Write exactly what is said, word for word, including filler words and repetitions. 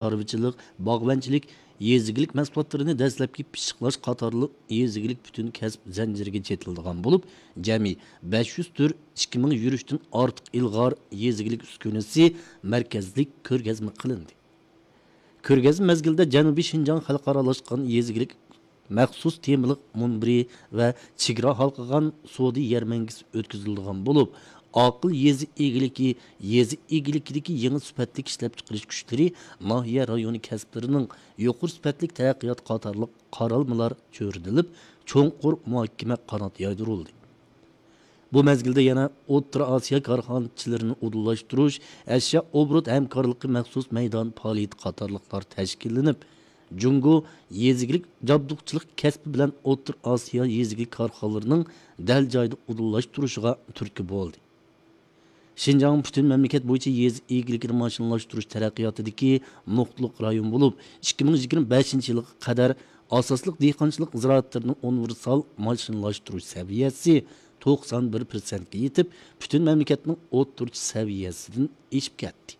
چارۋىچىلىق، باغۋەنچىلىك، يېزا ئىگىلىك مەھسۇلاتلىرىنى دەسلەپكى پىششىقلاش قاتارلىق يېزا ئىگىلىك پۈتۈن كەسىپ زەنجىرىگە چېتىلىدىغان بولۇپ، جەمئىي بەش يۈز تۈر، ئىككى مىڭ يۈرۈشتىن ئارتۇق ئىلغار يېزا ئىگىلىك ئۈسكۈنىسى مەركەزلىك كۆرگەزمە قىلىندى. كۆرگەزمە مەزگىلىدە جەنۇبىي شىنجاڭ خەلقئارالاشقان يېزا ئىگىلىك مەخسۇس تېمىلىق مۇنبىرى ۋە چېگرا ھالقىغان سودا يەرمەنكىسى ئۆتكۈزۈلىدىغان بولۇپ، ئاقىل يېزا ئىگىلىكى، يېزا ئىگىلىكىدىكى يېڭى سۈپەتلىك ئىشلەپچىقىرىش كۈچلىرى، ناھىيە، رايون كەسىپلىرىنىڭ يۇقىرى سۈپەتلىك تەرەققىياتى قاتارلىق قارالمىلار چۆرىدىلىپ، چوڭقۇر مۇھاكىمە قانات يايدۇرۇلدى. بۇ مەزگىلدە يەنە ئوتتۇرا ئاسىيا كارخانىچىلىرىنى ئۇدۇللاشتۇرۇش، ئەشيا ئوبوروت ھەمكارلىقى مەخسۇس مەيدان پائالىيىتى قاتارلىقلار تەشكىللىنىپ، جۇڭگو يېزا ئىگىلىك جابدۇقچىلىق كەسپى بىلەن ئوتتۇرا ئاسىيا يېزا ئىگىلىك كارخانىلىرىنىڭ دەل جايىدا ئۇدۇللاشتۇرۇشىغا تۈرتكە بولدى. شىنجاڭ پۈتۈن مەملىكەت بويىچە يېزا ئىگىلىكىنى ماشىنىلاشتۇرۇش تەرەققىياتىدىكى نۇقتىلىق رايون بولۇپ، ئىككى مىڭ يىگىرمە بەشىنچى يىلغا قەدەر ئاساسلىق دېھقانچىلىق زىرائەتلىرىنىڭ ئۇنىۋېرسال ماشىنىلاشتۇرۇش سەۋىيەسى توقسان بىر پىرسەنتكە يېتىپ، پۈتۈن مەملىكەتنىڭ ئوتتۇرىچە سەۋىيەسىدىن ئېشىپ كەتتى.